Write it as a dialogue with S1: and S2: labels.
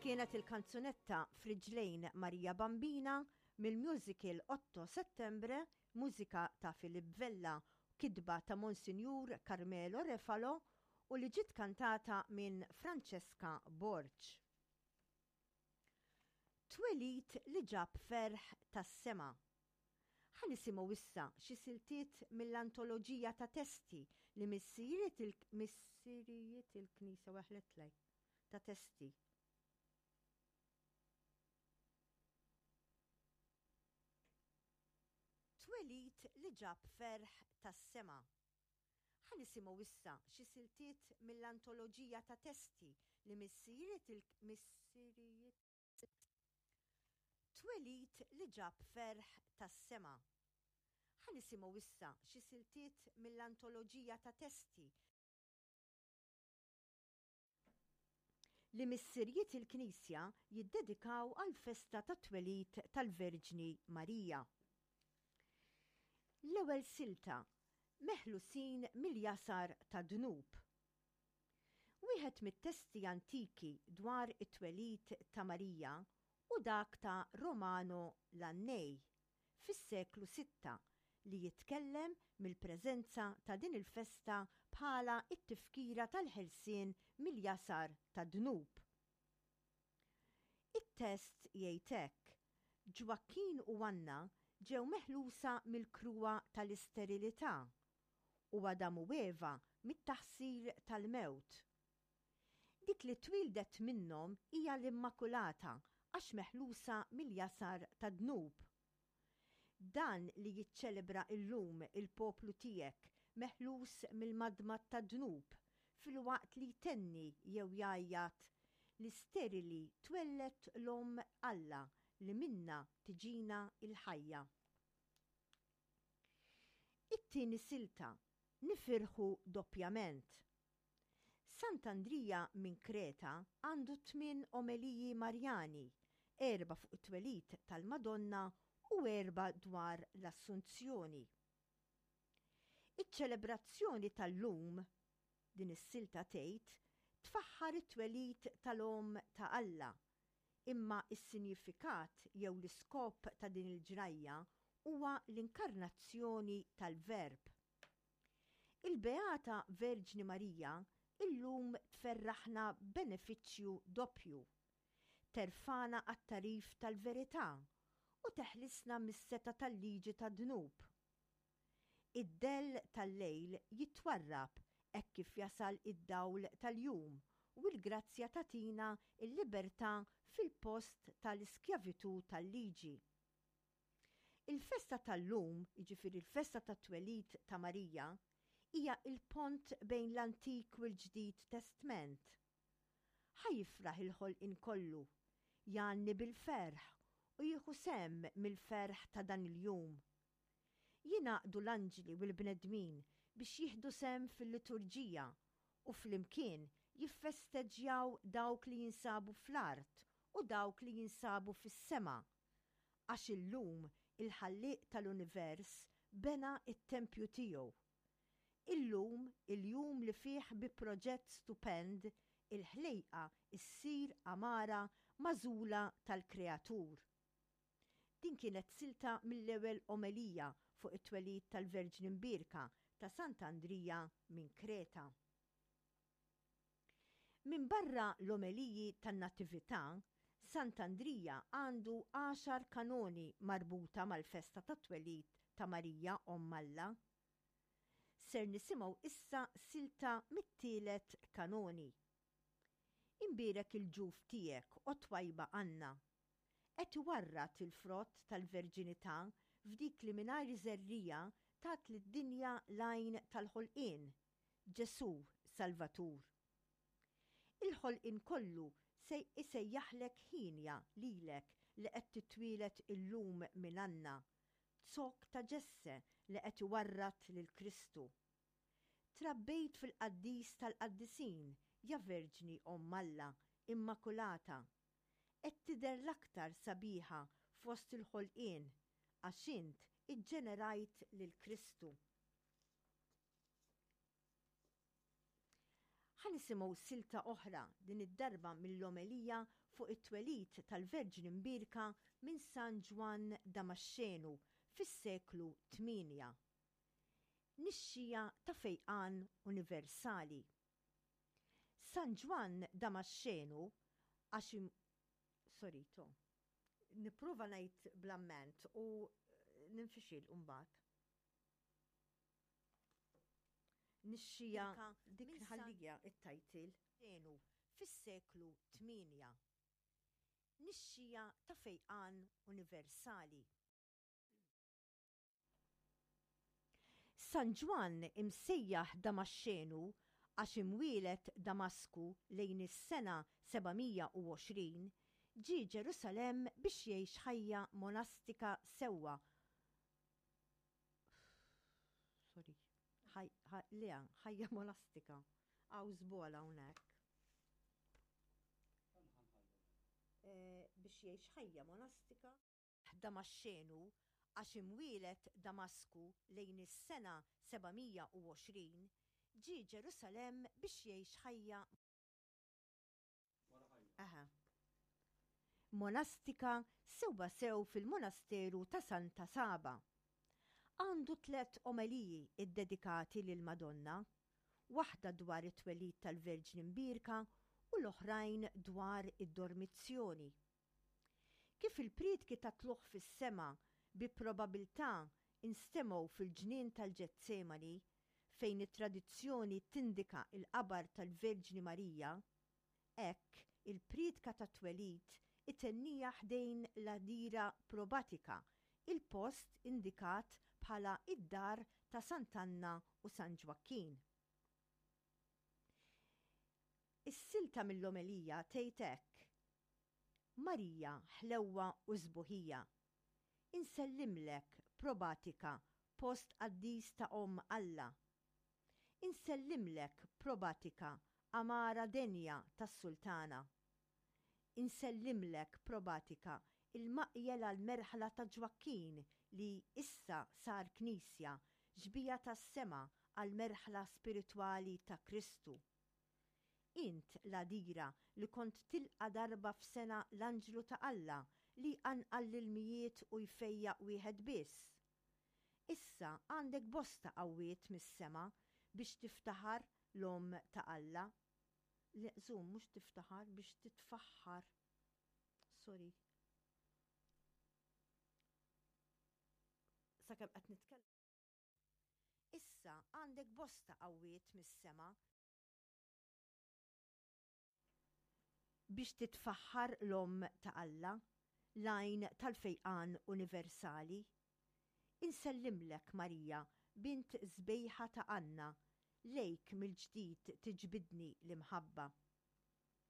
S1: Kienet il-kanzunetta Friġlejn Marija Bambina mill-musical Otto Settembre, mużika ta' Philip Vella, kitba ta' Monsinjur Carmelo Refalo u li ġiet kantata minn Francesca Borg. Twelid li ġab ferħ tas-sema. Ħa nisimgħu issa xi siltiet mill-antoloġija ta' testi li missirijiet il missirijiet il-Knisja weħletlek ta' testi. Twelid li ġab ferħ tas-sema. Ħa nisimgħu issa xi siltiet mill-antoloġija ta' testi li missirijiet il missirijiet Twelid li ġab ferħ tas-sema. Ħa nisimgħu issa xi siltiet mill-antoloġija ta' testi li missirijiet il-Knisja jiddedikaw għall-festa tat-twelid tal-Verġni Marija. L-ewwel silta, Meħlusin mill-jasar tad-dnub. Wieħed mit-testi antiki dwar it-twelid ta' Marija hu dak ta' Romano Lannei fis-seklu sitta li jitkellem mill-preżenza ta' din il-festa bħala t-tifkira tal-ħelsien mill-jasar tad-dnub. It-test jgħid hekk, Ġwakkin u Anna ġew meħlusa mill-kruha tal-isterilità u Adam u Eva mit-taħsir tal-mewt. Dik li twieldet minnhom hija l-Immakulata għax meħlusa mill-jasar tad-dnub. Dan li jiċċelebra illum il-poplu tiegħek meħlus mill-madmad tad-dnub filwaqt li jtenni jew jgħajjat li sterili twelled l-Omm Alla li minnha tiġina l-ħajja. It-tieni silta, Nifirħu doppjament. Sant'Andrija minn Kreta għandu tmien omeliji Marjani, erbgħa fuq it-twelid tal-Madonna u erbgħa dwar l-Assunzjoni. Iċ-ċelebrazzjoni tal-lum, din is-silta tgħid, tfaħħar it-twelid tal-Omm ta' Alla, Imma s-sinjifikat jew l-iskop ta' din il-ġrajja huwa l-inkarnazzjoni tal-Verb. Il-Beata Verġni Marija illum tferraħna b'benefiċċju doppju. Terfagħna għat-tagħrif tal-verità u teħlisna mis-setgħa tal-liġi tad-dnub. Id-dell tal-lejl jitwarrab hekk kif jasal id-dawl tal-jum u l-grazzja tagħtina l-libertà fil-post ta' l-iskjavitù tal-liġi. Il-festa tal-lum, jiġifieri l-festa tat-twelid ta' Marija, hija l-pont bejn l-Antik u l-Ġdid Testment. Ħa jifraħ il-ħolqien kollu, jgħanni bil-ferħ u jieħu sehem mill-ferħ ta' dan il-jum. Jingħaqdu l-anġli u l-bnedmin biex jieħdu sehem fil-liturġija u flimkien jiffesteġġjaw dawk li jinsabu fl-art u dawk li jinsabu fis-sema. Għax illum il-Ħallieq tal-univers bena t-tempju tiegħu. Illum il-jum li fih bi proġett stupend il-ħlejqa ssir għamara magħżula tal-Kreatur. Din kienet silta mill-ewwel omelija fuq it-twelid tal-Verġni Mbierka ta' Sant'Andrija minn Kreta. Minbarra l-omeliji tan-Natività, Sant'Andrija għandu għaxar kanoni marbuta mal-festa tat-twelid ta' Marija Omm Alla. Ser nisimgħu issa silta mit-tielet kanoni. Imbierek il-ġuf tiegħek, o twajba Anna, Qed iwarrad il-frott tal-verġinità f'dik li mingħajr żerriegħa tat lid-dinja l-għajn tal-ħolqien, Ġesù Salvatur. Il-ħolqien kollu se isejjaħlek hienja lilek li qed titwieled illum minn Anna, zokk ta' Ġesse li qed iwarrad lil Kristu. Trabbejt fil-Qaddis tal-Qaddisin, ja Verġni Omm Alla, Immakulata, Qed tidher l-aktar sabiħa fost il-ħolqien għax int iġġenerajt lil Kristu. Ħa nisimgħu silta oħra, din id-darba mill-omelija fuq it-twelid tal-Verġni Mbierka minn San Ġwann Damaxxenu fis-seklu tmienja. Nixxija ta' fejqan universali. San Ġwann Damaxxenu għax Sorry, to. Nipprova ngħid bl-amment u ninfixil mbagħad. Nixxija dik nħallija it-title. Enu fis-seklu 8. Nixxija ta' fejqan universali. San Ġwann imsejjaħ Damaxxenu għax imwieled Damasku lejn is-sena 720, ġie Ġerusalemm biex jgħix ħajja monastika sewwa Sorry. Le, ħajja monastika. Hawn żball hawnhekk. Eh, biex jgħix ħajja monastika. Damaxxenu għax imwieled Damasku lejn is-sena 720, ġie Ġerusalemm biex jgħix ħajja Aha. Monastika sewwasew fil-monasteru ta' Santa Saba. Għandu tlett omeliji ddedikati lill-Madonna, waħda dwar it-twelid tal-Verġni Mbierka u l-oħrajn dwar id-Dormizzjoni. Kif il-prietki tat-Tlugħ fis-Sema bi probabilità nstemgħu fil-ġnien tal-Ġetsemani, fejn it-tradizzjoni tindika l-qabar tal-Verġni Marija, hekk il-prietka tat-twelid itenniha ħdejn l-għadira Probatika, il-post indikat bħala d-dar ta' Sant'Anna u San Ġwakkin. Is-silta mill-omelija tgħid hekk, Marija ħlewwa u sbuħija, insellimlek Probatika post qaddis ta' Omm Alla. Insellimlek Probatika għamara denja tas-Sultana. Insellimlek Probatika il-maqjel għall-merħla ta' Ġwakkin li issa sar knisja, xbieha tas-sema għall-merħla spiritwali ta' Kristu. Int l-għadira li kont tilqa' darba f'sena l-anġlu ta' Alla li jqanqal l-ilmijiet u jfejjaq wieħed biss. Issa għandek bosta qawwiet mis-sema biex tiftaħar l-Omm ta' Alla. Le, żomm, mhux tiftaħar, biex titfaħħar. Sorry. Sakemm qed nitkellem. Issa għandek bosta qawwiet mis-sema biex titfaħħar l-Omm ta' Alla, l-għajn tal-fejqan universali. Insellimlek, Marija, bint sbejħa ta' Anna, lejk mill-ġdid tiġbidni l-imħabba.